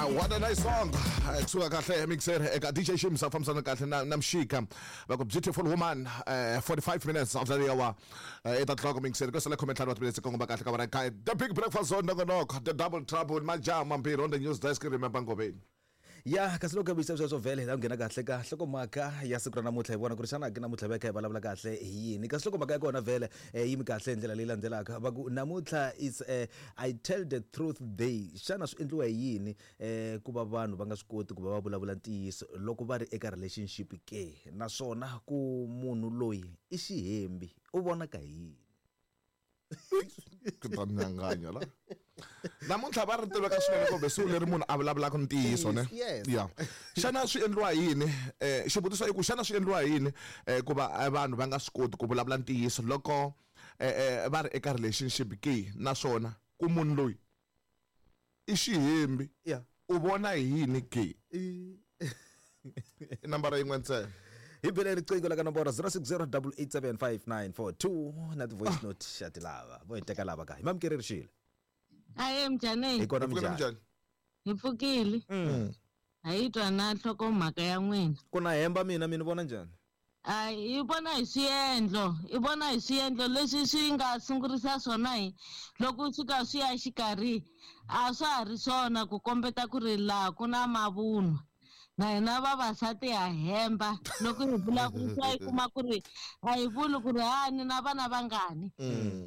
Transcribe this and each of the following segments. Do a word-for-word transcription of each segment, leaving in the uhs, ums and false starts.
What a nice song. Kusuka kahle mixer eka D J Shimza fambisana kahle na na Mshika. Va ku Beautiful Woman, uh, forty-five minutes after the hour. eight o'clock mixer ko sala comment wa minutes kongoma kahle ka vana kai. The Big Breakfast Zone nongonoko, the double trouble majama mbirhi on the news desk, remember Ngobeni. Ya kasi loko bisa sweswo vhele hi ta nghena kahle ka nhlokomhaka ya siku ra namuntlha hi vona ku ri xana ke namuntlha va kha hi vulavula kahle hi yini kasi nhlokomhaka ya kona vhele yi mi kahle hi ndlela leyi landzelaka va ku namuntlha is uh, I tell the truth day. Xana swi endliwa hi yini eh ku va vanhu va nga swi koti ku va va vulavula ntiyiso loko va ri eka relationship ke, naswona ku munhu loyi i xihembi u vonaka hi yini? Ku ta nyanganya la namuntlha va ri tiveka swinene kumbe siku leri munhu a vulavulaka ntiyiso ne. Ya xana swi endliwa hi yini eh xivutiso i ku xana swi endliwa hi yini eh ku va vanhu va nga swi koti ku vulavula ntiyiso loko eh va ri eka relationship ke, naswona ku munhu loyi i xihembi u vona hi yini ke? I nambara yin'we ntsena. Hi bele riqingho la ka nomboro zero six zero eight eight seven five nine four two na ti-voice note xa ti lava vo hi teka lava ka hi mamukeri rixile. Aye mjani. Hi kona mjani. Hi pfukile. A yi twa na nhlokomhaka ya n'wina. Ku na hemba mina mina vona njhani? Ai i vona hi swiendlo, i vona hi swiendlo leswi swi nga sungurisa swona hi loko swi ka swi ya xikarhi a swa ha ri swona ku kombeta ku ri laha ku na mavunwa. Na hina vavasati ha hemba loko hi vulavurisa hi kuma ku ri a hi vuli ku ri ha ni na vana vangani.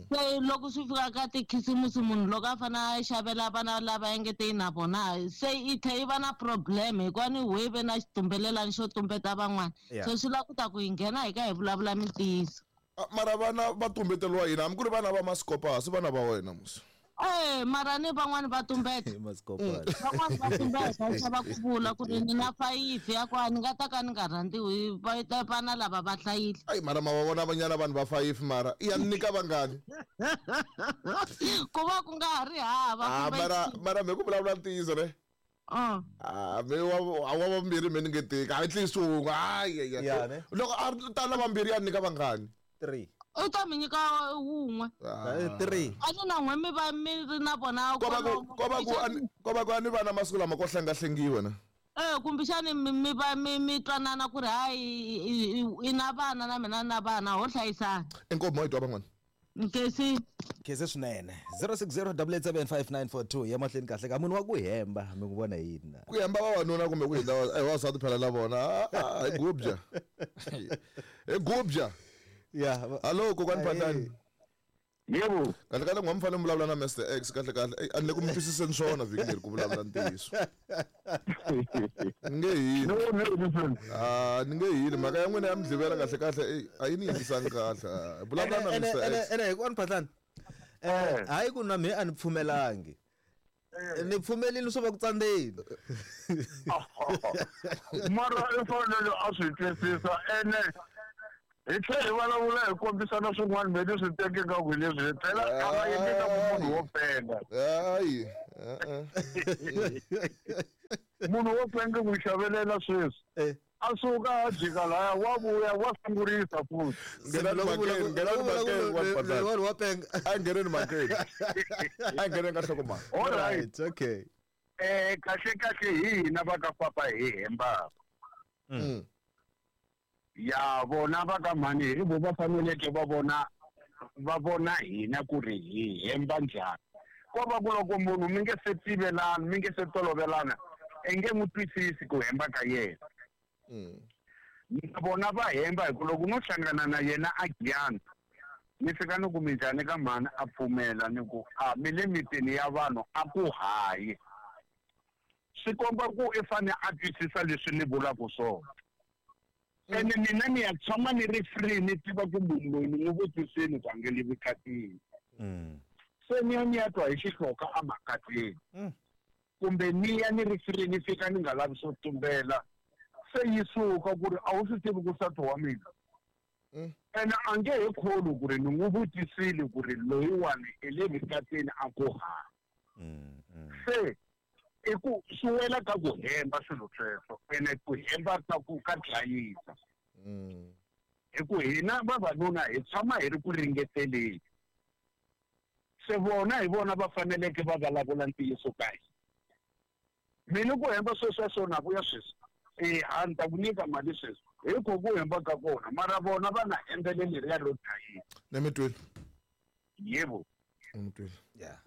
Se loko swi fika ka tikhisimusi munhu loko a fanele a xavela vana lava engeteni na vona se i tlhe yi va na problem hikuva ni we ve na xitumbelelani xo tumbeta van'wana. So swi lava ku ta ku hi nghena hi ka hi vulavula mintiyiso. Mara vana va tumbeteriwa yini hambi ku ri vana va masikopasi vana va wena musi? Eh mara ni van'wani va tumbeta. Van'wani va tumbeta va ku vula ku ri ni na five ya ku a ni nga ta ka ni nga rhandziwi va ta vana lava va hlayile. Ai mara ma va vona vanyana vanhu va five mara i ya nyika vangani? Ku va ku nga ha ri hava kumbe mara mara me ku vulavula ntiyiso ne? Ah ah me wa wa vambirhi me ni nge teki at least un'we hayi ya loko a ta na vambirhi ya nyika vangani? Three. U ta mi nyika wun'we. Three. A ni na n'we mi va mi ri na vona ko va ku ko va ku ko va ku a ni vana masiku lama ko hlengahlengiwa na. Eh kumbexani mi va mi mi twanana ku ri hayi i na vana na mina na vana ho hlayisana. Inkomo yi twa van'wana. Nkesi. Nkesi swinene. zero six zero eight eight seven five nine four two ya mahlweni kahle ka munhu wa ku hemba mi ku vona yini na? Ku hemba vavanuna kumbe ku hindza eh vavasati phela na vona hi gubya. Hi gubya. Yeah. Hello kokwani Phatani. Yebo. Kahle kahle n'wa mfana mi vulavula na Mister X kahle kahle a ni le ku mi twisiseni swona vhiki leri ku vulavula ntiyiso. Ni nge hili. No no. Ah ni nge hili mhaka ya n'wina ya midlivela kahle kahle a yi ni yingisangi kahle. Vulavula na Mister X. Ene kokwani Phatani. Eh hayi ku na me a ni pfumelangi. Ni pfumelini swo va ku tsandzeni. Mara i fanele a swi twisisa ene hi tlhela hi vulavula hi kombisana swin'wana me ni swi teke nga ku leswi phela a va endleka ku munhu wo penga. Hayi munhu wo penga ku xavelela sweswi a suka a jika laya wa vuya wa sungurisa futhi. Nghenani makeni nghenani makeni wa penga. A ngheneni makeni a ngheneni ka nhlokomhaka. All right, okay. Eh kahle kahle hi hina va ka papa hi hembaka. Mm. Ya vona va ka mhani hi vo va faneleke va vona va vona hina ku ri hi hemba njhani. Ko va ku loko munhu mi nge se tivelana mi nge se tolovelana i nge n'wi twisisi ku hemba ka yena. Na vona va hemba hi ku loko no hlangana na yena a giyana ni fika ni ku minjhani ka mhani a pfumela ni ku a mi le mitini ya vanhu a ku hayi. Swi komba ku i fane a twisisa leswi ni vulaka swona. Ene mina ni ya tshama ni ri free ni tiva ku munhu loyi ni n'wi vutisini ku a nge le vukatini. Se ni ya ni ya twa hi xihloka emakateni. Kumbe ni ya ni ri free ni fika ni nga lavi swo tumbela. Se yi suka ku ri a wu swi tivi ku nsati wa mina. Ene a nge he kholwi ku ri ni n'wi vutisile ku ri loyiwani i le vukatini a ku ha. Se i ku swi wela ka ku hemba swilo sweswo ene ku hemba ka ku ka dlayisa. Hi ku hina vavanuna hi tshama hi ri ku ringeteleni. Se vona hi vona va faneleke va vulavula ntiyiso ka hina. Mina ku hemba sweswi swo na vuya sweswi. Eh a ni ta ku nyika mali sweswi. Hi ku ku hemba ka kona mara vona va na endlele leriya ro dlayile. Ne mi twile? Yebo. Mi twile. Yeah.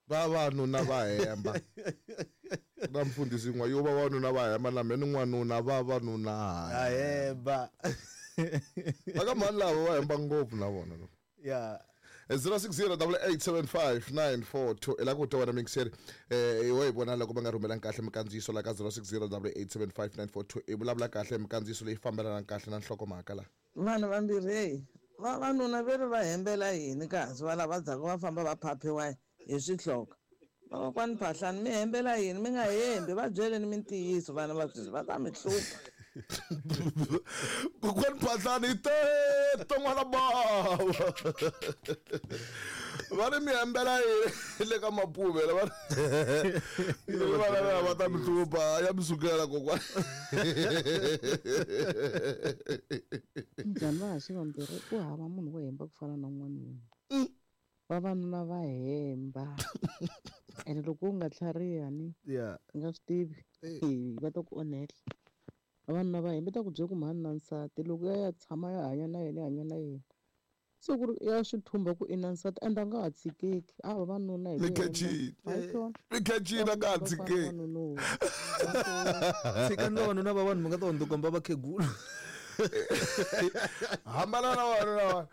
Vavanuna va hemba. Na mfundhisi n'wa yo vavanuna va hemba na mina n'wanuna vavanuna a hemba. Va ka mhani lava va hemba ngopfu na vona loko. Yeah. zero six zero eight eight seven five nine four two ela ku twa wena mixer eh wa hi vona loko va nga rhumelanga kahle mikandziyiso la ka zero six zero eight eight seven five nine four two i vulavula kahle mikandziyiso leyi fambelanaka kahle na nhlokomhaka la. Vanhu vambirhi hey vavanuna ve ri va hembela yini kasi va lava dzaka va famba va phaphiwa hi swihloka. Vakokwani Phahlani mi hembela yini mi nga hembi va byeleni mintiyiso vana va sweswi va ta mi hlupha. Kokwani Phahlani te ton'wana bava. Va ri mi hembela yini le ka Mapuvela va ri va ta mi hlupha ya mi sukela kokwani. Njhani va haxi vambirhi ku hava munhu wo hemba ku fana na n'wanuna. Vavanuna va hemba. Ene loko u nga tlhariha ni yeah u nga swi tivi va ta ku onhela. Vavanuna va hemba ta ku byela ku mhani na nsati loko ya ya tshama ya hanya na yena ya hanya na yena. Se ku ri ya swi thumba ku i na nsati ende a nga ha tshikeki. A vavanuna hi Mi khecini. Mi khecini a nga ha tshikeki. Tshikani vavanuna va vanhu mi nga ta hundzuka va vakhegula. Hambana na vanhu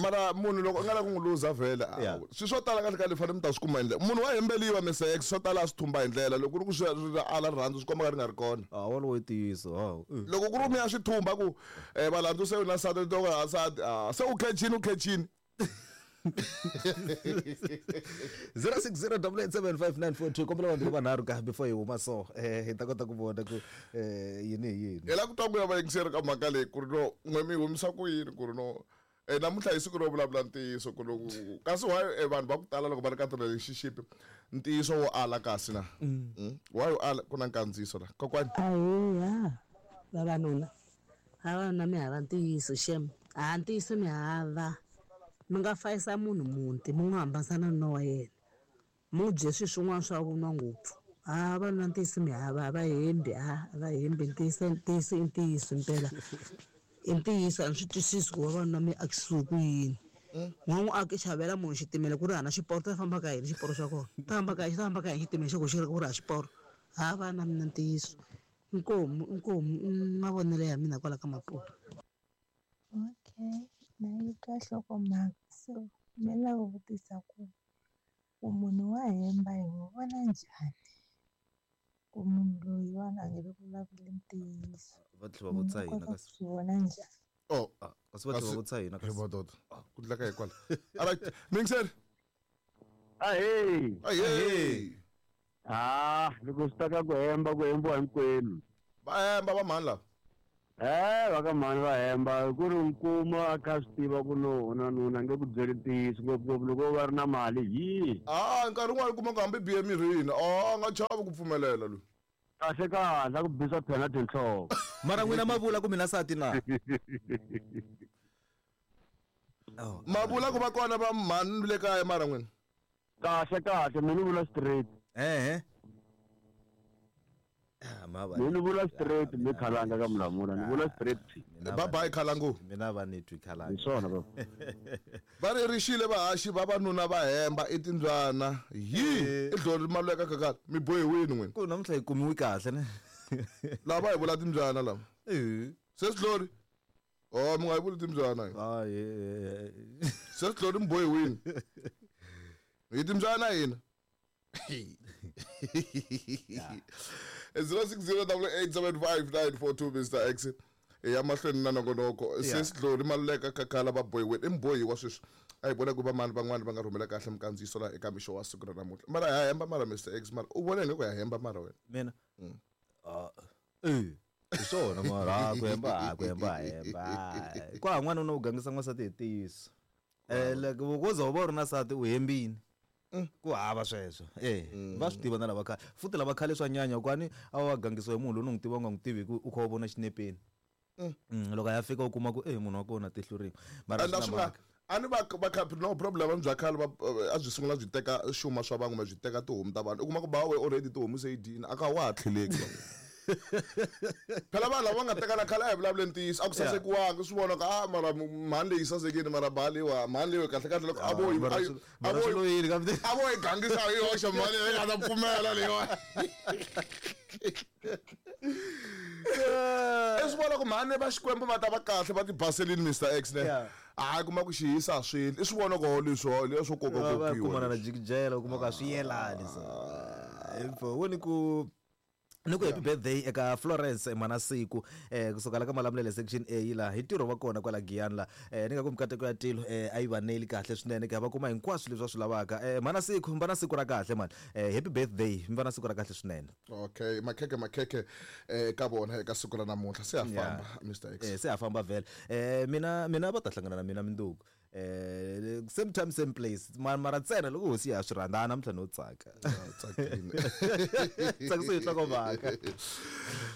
mara munhu loko u nga la ku n'wi luza vhele swi swo tala kahle kahle fanele mi ta swi kuma hi ndlela munhu wa hembeliwa Mister X swo tala a swi thumba hi ndlela loko ku ri ku swi ala rirhandzu swi komba ka ri nga ri kona. A wolowo i ntiyiso hawu. Loko ku ri mi ya swi thumba ku valandzu se u na nsati to ka nsati se u khecini u khecini. zero six zero eight eight seven five nine four two kombela vanhu vanharhu ka before hi huma so eh hi ta kota ku vona ku eh yini hi yini. Hi la ku twa ku ya vayingiseri ka mhaka leyi ku ri no n'we mi humisa ku yini ku ri no eh namuntlha hi siku ro vulavula ntiyiso ku ri kasi why vanhu va ku tala loko va ri ka ti-relationship ntiyiso wo ala kasi na why u ala ku na nkandziyiso la kokwani. Ahiya vavanuna vavanuna mi hava ntiyiso xem a ntiyiso mi hava. Mi nga fayisa munhu muti mi n'wi hambanisa na nuna wa yena mi bye swilo swin'wana swa vunwa ngopfu. A vanuna ntiyiso mi hava a va hembi a va hembi ntiyiso ntiyiso i ntiyiso mpela i ntiyiso a ni swi twisisi ku vavanuna mi akisiwe ku yini. N'wa n'wi aki xavela munhu xitimela ku ri hana xiporo ta famba ka yini xiporo xa kona ta famba ka yini xi ta famba ka yini xitimela xa ku xi ri ku ri ha xiporo ha vana mina ntiyiso inkomu inkomu mavonelo ya mina kwala ka Maputo. Okay. Na yi twa nhlokomhaka so mi lava ku vutisa ku ku munhu wa hemba hi n'wi vona njhani ku munhu loyiwani a nge le ku vulavuli ntiyiso. Va tlhela va vutisa hina kasi swi vona njhani? Oh kasi va tlhela va vutisa hina kasi madoda ku dlaka hi kwala. Alright mixer. Ahee. Ahee. Ah loko swi ta ka ku hemba ku hembiwa hinkwenu. Va hemba va mhani lava. Eh va ka mhani va hemba ku ri nkuma a kha swi tiva ku no na nuna nge ku byeli ntiyiso ngopfungopfu loko va ri na mali hi. Ah nkarhi wun'wani kuma ku hambi bihe mirini a nga chavi ku pfumelela loyi. Kahle kahle a ku bisa phela tinhloko. Mara n'wina ma vula ku mina nsati na. Ma vula ku va kona va mhani le kaya mara n'wina. Kahle kahle mina ni vula straight. Eh eh. Ni vula straight mi khalanga ka Mulamula ni vula straight. Bye bye khalangu. Mina va ni twi khalanga. Hi swona baba. Va ri rixile vahaxi vavanuna va hemba i timbyana hi i dlori malweka kakala mi bohiwini n'wina. Ku namuntlha hi kumiwi kahle ne. Lava hi vula timbyana lava. Eh. Se sidlori. Oh mi nga hi vuli timbyana. Hayi. Se sidlori mi bohiwini. Hi timbyana hina. zero six zero eight eight seven five nine four two Mister X ya mahlweni na nongonoko se sidlori maluleka kakala va bohiwini i mbohiwa sweswi a hi vona ku va mani van'wani va nga rhumela kahle mikandziyiso laha eka mixo wa siku ra namuntlha mara ya hemba mara Mister X mara u vona ingaku ya hemba mara wena mina ah eh hi swona mara ku hemba ku hemba hemba kwa n'wana u gangisa n'wansati hi ntiyiso eh loko wo za u va u ri na nsati u hembini ku hava sweswo eh va swi tiva na lava khale futhi lava khale swa nyanya kwani a va gangisiwa hi munhu loyi u n'wi tiva u nga n'wi tivi ku u kha u vona xinepeni loko a ya fika u kuma ku eh munhu wa kona tihlo rin'we mara swi nga A ni va va kha no problem bya khale va a byi sungula byi teka xuma swa van'we byi teka tihomu ta vanhu. U kuma ku ba we already tihomu se yi dyini a ka wa ha tlheleki. Phela vanhu lava va nga tekana khale a hi vulavule ntiyiso a ku sasekiwanga swi vona ku a mara mhani leyi sasekile mara ba leyiwa mhani leyi kahle kahle loko a vo a vo a vo yi gangisa hi yoxe mhani leyi nga ta pfumela leyiwa. I swi vona ku mhani va Xikwembu va ta va kahle va ti baselini Mister X ne. A kuma ku xihisa swilo i swi vona ku leswo leswo koka kokiwa kumana na jikijela u kuma ku a swi yelani so info woni ku ni ku happy birthday eka Florence Manasiku eh kusuka la ka Malamulele section A la hi ntirho wa kona kwala Giyani la eh ni nga ku mikateko ya tilo eh a yi vaneli kahle swinene ka va kuma hinkwaswo leswi va swi lavaka eh Manasiku mba na siku ra kahle man eh happy birthday mba na siku ra kahle swinene. Okay makheke makheke eh ka vona eka siku ra namuntlha se a famba Mister X eh se a famba vhele eh mina mina va ta hlangana na mina minduku eh same time same place mara ntsena loko hosi ya swi rhandza namuntlha no tsaka tsakile tsakisa hi nhlokomhaka.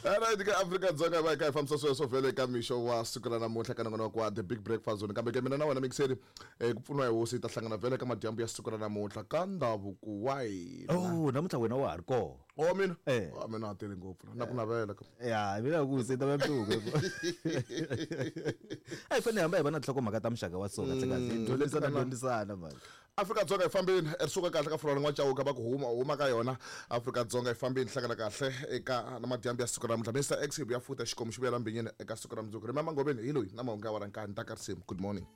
Alright ka Afrika Dzonga va ka hi fambisa sweswo vhele ka mixo wa siku ra namuntlha ka nongonoko wa The Big Breakfast Zone kambe ke mina na wena mixeri ku pfuniwa hi hosi hi ta hlangana vhele ka madyambu ya siku ra namuntlha ka ndhavuko wa hina. Oh namuntlha wena wa ha ri kona. Oh mina ah mina a tele ngopfu na ku navela ka ya mina ku se ta va mtuku a hi fanele hamba hi va na nhlokomhaka ta muxaka wa so kahle kahle dyondzisana dyondzisana mani. Afrika Dzonga yi fambini ri suka kahle ka Florence N'wachauka va ku huma huma ka yona Afrika Dzonga yi fambini hlangana kahle eka na madyambu ya siku ra namuntlha Mister X hi vuya futa xikomu xi vuyela mbinyini eka siku ra mundzuku. Remember Ngobeni hi loyi na mahungu ya wara nkani ta ka risimu. Good morning.